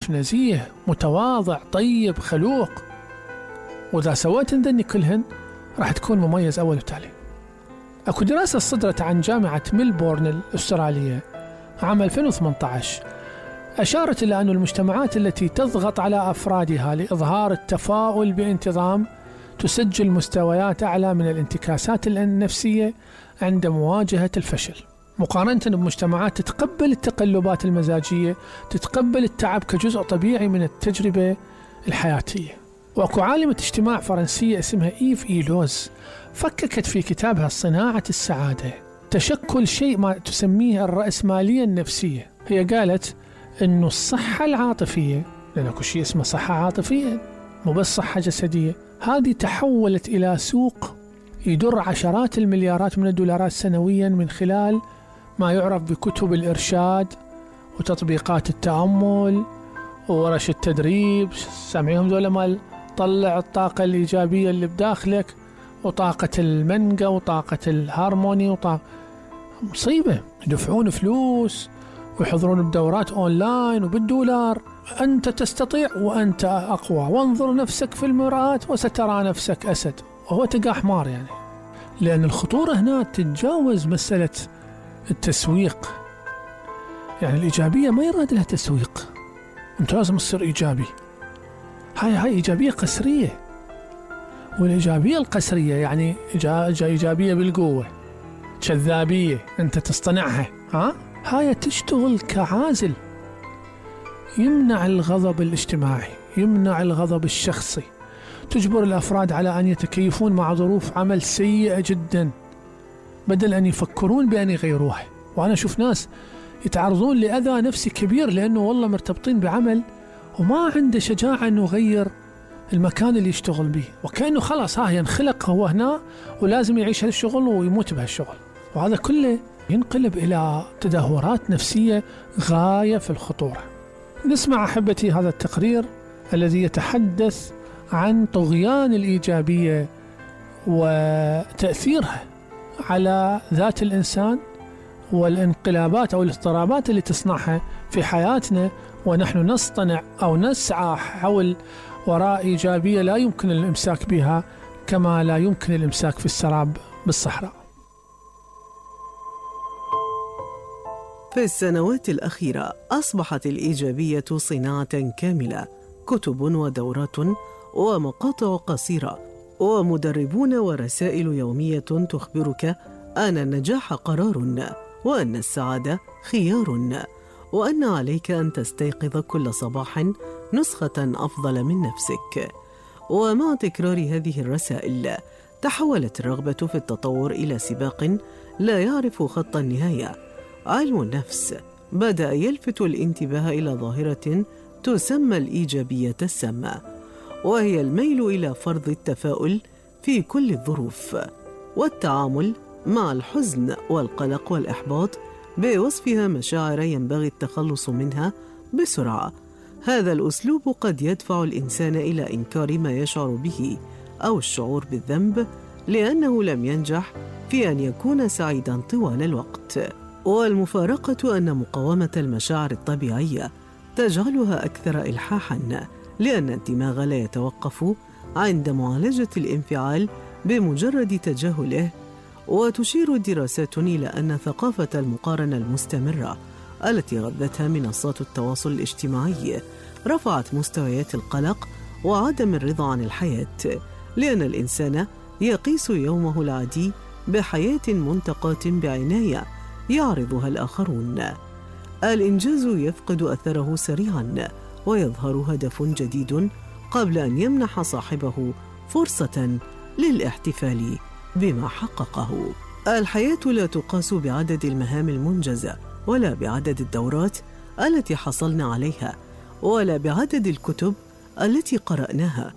شريف نزيه متواضع طيب خلوق، وإذا سويت ذني كلهن راح تكون مميز أول وتالي. أكو دراسة صدرت عن جامعة ميلبورن الأسترالية عام 2018 أشارت إلى أن المجتمعات التي تضغط على أفرادها لإظهار التفاؤل بانتظام تسجل مستويات أعلى من الانتكاسات النفسية عند مواجهة الفشل، مقارنة بمجتمعات تتقبل التقلبات المزاجية، تتقبل التعب كجزء طبيعي من التجربة الحياتية. وأكو عالمة اجتماع فرنسية اسمها إيف إيلوز فككت في كتابها صناعة السعادة تشكل شيء ما تسميه الرأسمالية النفسية. هي قالت إنه الصحة العاطفية، لأن أكو شيء اسمه صحة عاطفية مو بس صحة جسدية، هذه تحولت إلى سوق يدر عشرات المليارات من الدولارات سنويا من خلال ما يعرف بكتب الإرشاد وتطبيقات التأمل وورش التدريب. سامعيهم ذولا مال طلع الطاقة الإيجابية اللي بداخلك وطاقة المنقى وطاقة الهارموني مصيبة. يدفعون فلوس ويحضرون بدورات أونلاين وبالدولار. أنت تستطيع وأنت أقوى، وانظر نفسك في المرآة وسترى نفسك أسد، وهو تقع حمار يعني. لأن الخطورة هنا تتجاوز مسألة التسويق، يعني الإيجابية ما يراد لها تسويق، أنت لازم تصير إيجابي. هاي إيجابية قسرية، والإيجابية القسرية يعني إيجابية بالقوة، كذابية أنت تصطنعها. هاي تشتغل كعازل، يمنع الغضب الاجتماعي، يمنع الغضب الشخصي، تجبر الأفراد على أن يتكيفون مع ظروف عمل سيئة جدا بدل أن يفكرون بأن يغيروها. وأنا أشوف ناس يتعرضون لأذى نفسي كبير لأنه والله مرتبطين بعمل وما عنده شجاعة أنه يغير المكان اللي يشتغل به، وكأنه خلاص ينخلق هو هنا ولازم يعيش هالشغل ويموت بهالشغل. وهذا كله ينقلب إلى تدهورات نفسية غاية في الخطورة. نسمع أحبتي هذا التقرير الذي يتحدث عن طغيان الإيجابية وتأثيرها على ذات الإنسان والانقلابات أو الاضطرابات اللي تصنعها في حياتنا، ونحن نصطنع أو نسعى حول وراء إيجابية لا يمكن الإمساك بها كما لا يمكن الإمساك في السراب بالصحراء. في السنوات الأخيرة أصبحت الإيجابية صناعة كاملة، كتب ودورات ومقاطع قصيرة ومدربون ورسائل يومية تخبرك أن النجاح قرار، وأن السعادة خيار، وأن عليك أن تستيقظ كل صباح نسخة أفضل من نفسك. ومع تكرار هذه الرسائل تحولت الرغبة في التطور إلى سباق لا يعرف خط النهاية. علم النفس بدأ يلفت الانتباه إلى ظاهرة تسمى الإيجابية السامة، وهي الميل إلى فرض التفاؤل في كل الظروف والتعامل مع الحزن والقلق والإحباط بوصفها مشاعر ينبغي التخلص منها بسرعة. هذا الأسلوب قد يدفع الإنسان إلى إنكار ما يشعر به أو الشعور بالذنب لأنه لم ينجح في أن يكون سعيداً طوال الوقت. والمفارقة أن مقاومة المشاعر الطبيعية تجعلها أكثر إلحاحاً، لأن الدماغ لا يتوقف عند معالجة الانفعال بمجرد تجاهله. وتشير الدراسات إلى أن ثقافة المقارنة المستمرة التي غذتها منصات التواصل الاجتماعي رفعت مستويات القلق وعدم الرضا عن الحياة، لأن الإنسان يقيس يومه العادي بحياة منتقاة بعناية يعرضها الآخرون. الإنجاز يفقد أثره سريعاً ويظهر هدف جديد قبل أن يمنح صاحبه فرصة للاحتفال بما حققه. الحياة لا تقاس بعدد المهام المنجزة، ولا بعدد الدورات التي حصلنا عليها، ولا بعدد الكتب التي قرأناها.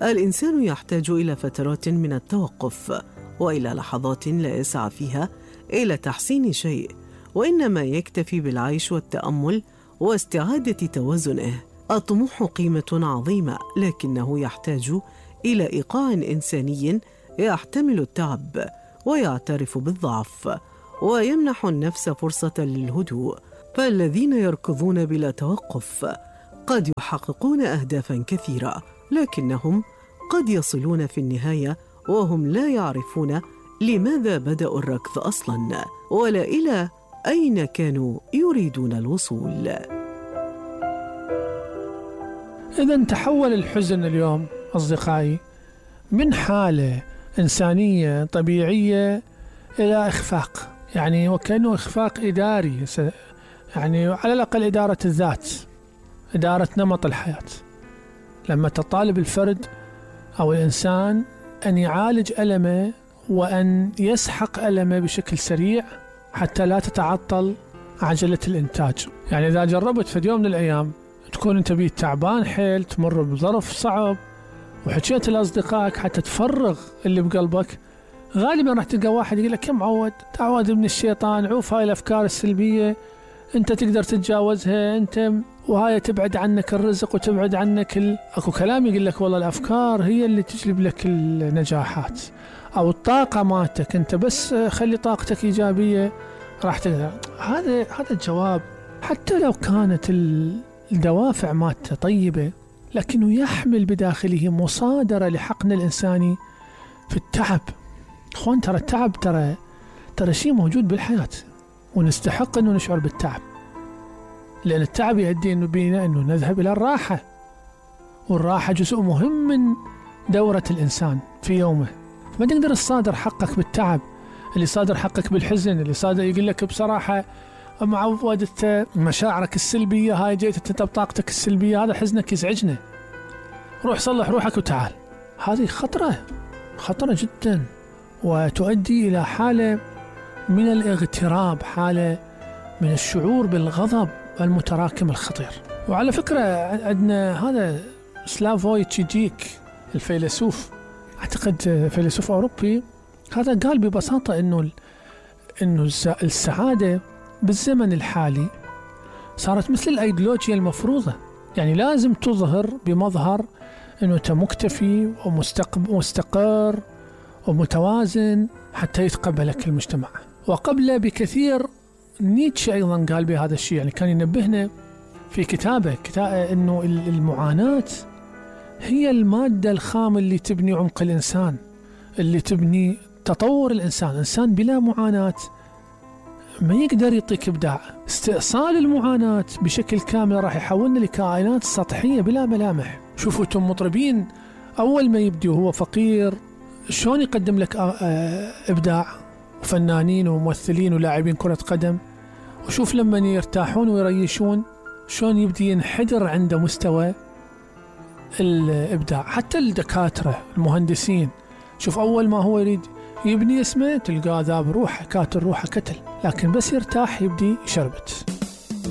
الإنسان يحتاج إلى فترات من التوقف، وإلى لحظات لا يسعى فيها إلى تحسين شيء، وإنما يكتفي بالعيش والتأمل واستعادة توازنه. الطموح قيمة عظيمة، لكنه يحتاج إلى إيقاع إنساني يحتمل التعب ويعترف بالضعف ويمنح النفس فرصة للهدوء. فالذين يركضون بلا توقف قد يحققون أهدافاً كثيرة، لكنهم قد يصلون في النهاية وهم لا يعرفون لماذا بدأوا الركض أصلاً، ولا إلى أين كانوا يريدون الوصول. إذن تحول الحزن اليوم أصدقائي من حالة إنسانية طبيعية إلى إخفاق، يعني وكأنه إخفاق إداري، يعني على الأقل إدارة الذات، إدارة نمط الحياة. لما تطالب الفرد أو الإنسان أن يعالج ألمه وأن يسحق ألمه بشكل سريع حتى لا تتعطل عجلة الإنتاج. يعني إذا جربت في يوم من الأيام تكون أنت بيه تعبان حيل، تمر بظرف صعب، وحكيت لأصدقائك حتى تفرغ اللي بقلبك، غالبا راح تلقى واحد يقول لك يا معود تعود من الشيطان، عوف هاي الأفكار السلبية، أنت تقدر تتجاوزها، أنت وهاي تبعد عنك الرزق وتبعد عنك أكو كلام يقول لك والله الأفكار هي اللي تجلب لك النجاحات أو الطاقة مالتك، أنت بس خلي طاقتك إيجابية راح تقدر. هذا الجواب حتى لو كانت الدوافع مالته طيبة، لكنه يحمل بداخله مصادرة لحقن الإنساني في التعب. أخوان ترى التعب ترى شيء موجود بالحياة، ونستحق أنه نشعر بالتعب، لأن التعب يؤدي بينا أنه نذهب إلى الراحة، والراحة جزء مهم من دورة الإنسان في يومه. ما تقدر تصادر حقك بالتعب، اللي صادر حقك بالحزن، اللي صادر يقول لك بصراحة معود مشاعرك السلبية، هاي جيت انت بطاقتك السلبية، هذا حزنك يزعجنا، روح صلح روحك وتعال. هذه خطرة جدا، وتؤدي إلى حالة من الاغتراب، حالة من الشعور بالغضب المتراكم الخطير. وعلى فكرة عندنا هذا سلافوي تشيجيك الفيلسوف، أعتقد فيلسوف أوروبي، هذا قال ببساطة إنه السعادة بالزمن الحالي صارت مثل الأيديولوجيا المفروضة، يعني لازم تظهر بمظهر إنه أنت مكتفي ومستقر ومتوازن حتى يتقبلك المجتمع. وقبل بكثير نيتشه أيضا قال بهذا الشيء، يعني كان ينبهنا في كتابه إنه المعاناة هي المادة الخام اللي تبني عمق الإنسان، اللي تبني تطور الإنسان. إنسان بلا معاناة ما يقدر يعطيك إبداع. استئصال المعاناة بشكل كامل راح يحولنا لكائنات سطحية بلا ملامح. شوفوا انتم مطربين أول ما يبدي وهو فقير شلون يقدم لك إبداع، وفنانين وممثلين ولاعبين كرة قدم، وشوف لما يرتاحون ويريشون شلون يبدي ينحدر عنده مستوى الإبداع. حتى الدكاترة المهندسين، شوف أول ما هو يريد يبني اسمه تلقاه ذاب روحه، كاتل روحه كتل، لكن بس يرتاح يبدي يشربت.